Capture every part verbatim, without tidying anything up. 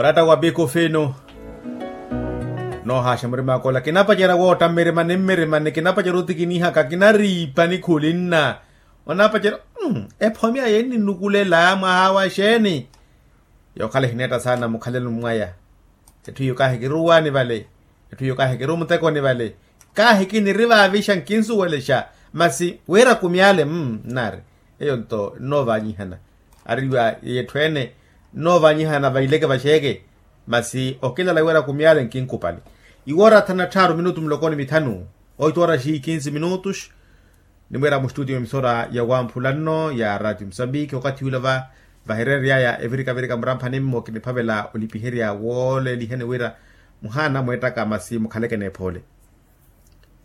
Oratta wa biko fino. Noohaaxa murim'aka ola kinapacerya wootta mmirima ni mmirima ni kinapacerya otikinihaka kinariipa ni khulinna. Onapacerya, ephomi aya enninukulela mwaha wa xeeni? Yookhala ehineetta saana mukhalelo mwaya. Etthu iyo kahi kiruwaani vale. Etthu iyo kahi kiruwo mutekoni vale. Kahi kinirivaavixa nkinsuwelexa. Masi wira kumyaale mmm nnaari. Eyo nto nnoovanyihana. Ariwa yetthu ene nnoovanyihana vaileke vaxeeke. Masi okilala wira kumyaale nkinkupali. Iwoora thanu na tthaaru minutu muloko ni mithanu. Oito horas e quinze minutos. Nimwiira mustutiyo emisora ya wamphula nno ya ratio musambiki okathi ula va vahireery'aya evirikavirika muramphani mmo kiniphavela olipiherya wooleeliheni wira muhaana mweettaka masi mukhaleke n'ephoole.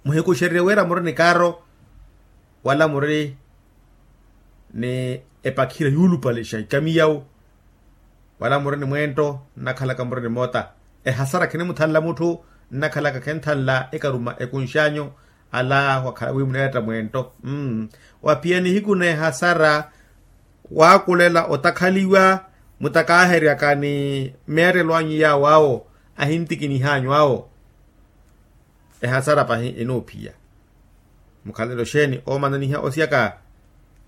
Muhikuxererye wira muri ni kaaro wala muri ni epakhira yuulupalexa ikamiyawu. Wala muri ni mweento nnakhalaka muri ni moota. Ehasara khinimuthanla mutthu nnakhalaka khenthanla ekaruma ekunx'anyu. Ala wakhala wi muneetta mweento. Mmm. Waphiya nihiku n'ehasara waakulela otakhaliwa mutakaaheryaka ni meerelo anyu yaawo awo ahintikinih'anyu awo. Ehasara pahi enoophiya. Mukhalelo xeeni oomananiha osiyaka?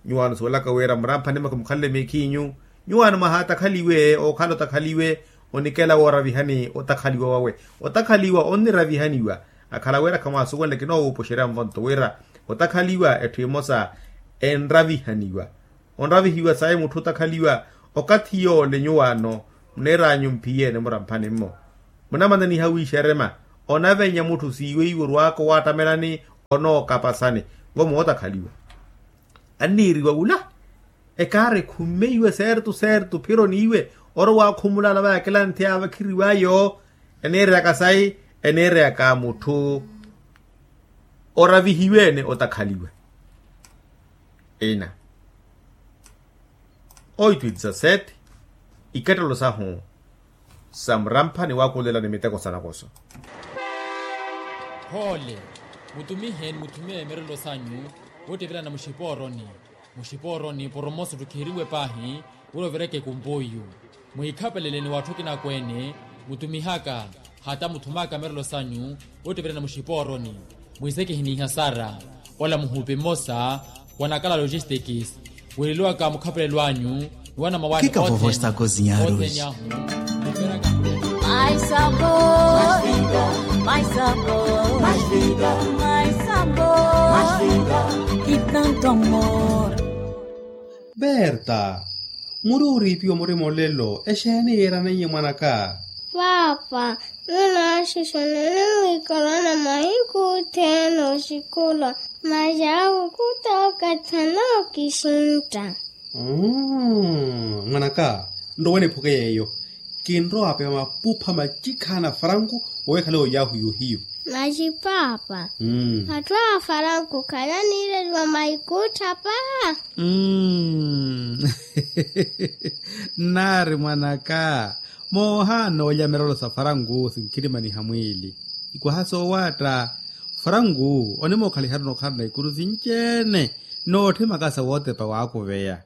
Nyuwaano suwelaka wira muramphani mwa kimukhalele miikhiinyu. Nyuwaano mwahatakhaliwe ookhala otakhaliwe onikela wooravihani otakhaliwa wawe. Otakhaliwa onniravihaniwa. Akhala wira khamwaasuwenle kinoowuupuxerya nvonto wira otakhaliwa etthu emosa enravihaniwa. Onravihiwa sayi mutthu otakhaliwa. Okathi yoole nyuwaano muneer'anyu mphiyeene muramphani mmo. Munamananiha wiixerema onavenya mutthu siiwe iwe orwaaka owaattamelani onookapasani. Vo mootakhaliwa anniiriwa wula ekaari ekhummeiwe seertu seertu phiro n'iwe orowa akhumula alavaya kilanthi avakhiriw'ayo. Eniireyaka sayi? Eniireyaka mutthu oravihiwe-ene otakhaliwa. Ina oito e dezasete. Ikattelo sahu sa murampha ni waakulela ni miteko sa nakoso. Phoole. Mutumihe ni muthumiwe mirelo sanyu woottivelana muxipooroni. Muxipooroni poromoso ttukhiriwe paahi wira ovireke ekumpuyu. Mwiikhapelele ni watthu kinakweene mutumihaka hata muthumaka mirelo sanyu woottivelana muxipooroni. Mwiisekihi n'ihasara ola muhupi mmosa wa nakala logistikis wiileliwaka mukhapelelo anyu ni wanamawaani othene. Othene ahu. Mais sabor, mais sabor, mais vida, mais sabor, mais vida, e tanto amor. Berta, muri oriipiwa murima olelo exeeni yiiraneiye mwanaka? Paapa, nyuwo naaxuxanani wiikalana mahiku othene oxikulwa masi awo khuta okathi anookisintta. Mmm mwanaka, nrowe niphuke yeeyo. Kinrowa apeya mapupha machikhaana a faranku oweekhale oyahu yohiyu. Masi paapa, atthu a faranku khale aniireliwa maikuttha paa. Mmm nnaari mwanaka, moohaana oolya mirelo sa faranku sinkhirimaniha mwiili. Ikwaha soowaatta faranku onimookhalihari onokhalana ikuru sinci-ene. Nootthimaka sa wootepa waakuveya.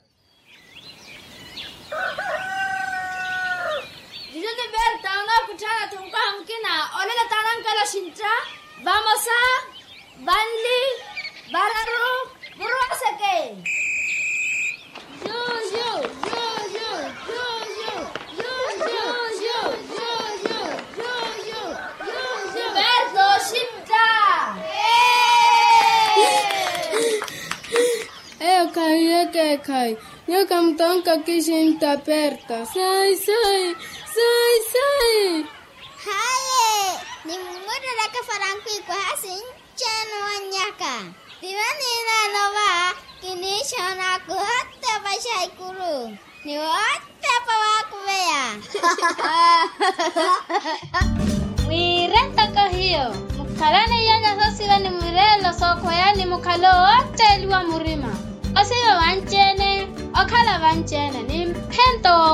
Juju ni berta onookutthaana-tho nkaha mukina. Olelo taanankela oxintta. Vamosa, vanli, vararu, muruwaseke. Juju juju juju. Juju juju juju. Juju juju juju. Berta oxintta. Eyo khahi ekeekhayi. Nyuwo khamutonka okisintta perta. Sai sai. Sai sai. Haye. Nimmutteryaka faranku ikwaha sinci-ene owannyaka. Tivo niineene ova kiniixoona kuhotepa xaikuru. Ni wootepa waakuveya. Mwiire ntoko hiyo. Mukhalane iyanya soosiva ni mwireelo sookhweyani mukhale owootteeliwa murima. Osiva vanci-ene. Okhala vanci-ene ni mphento.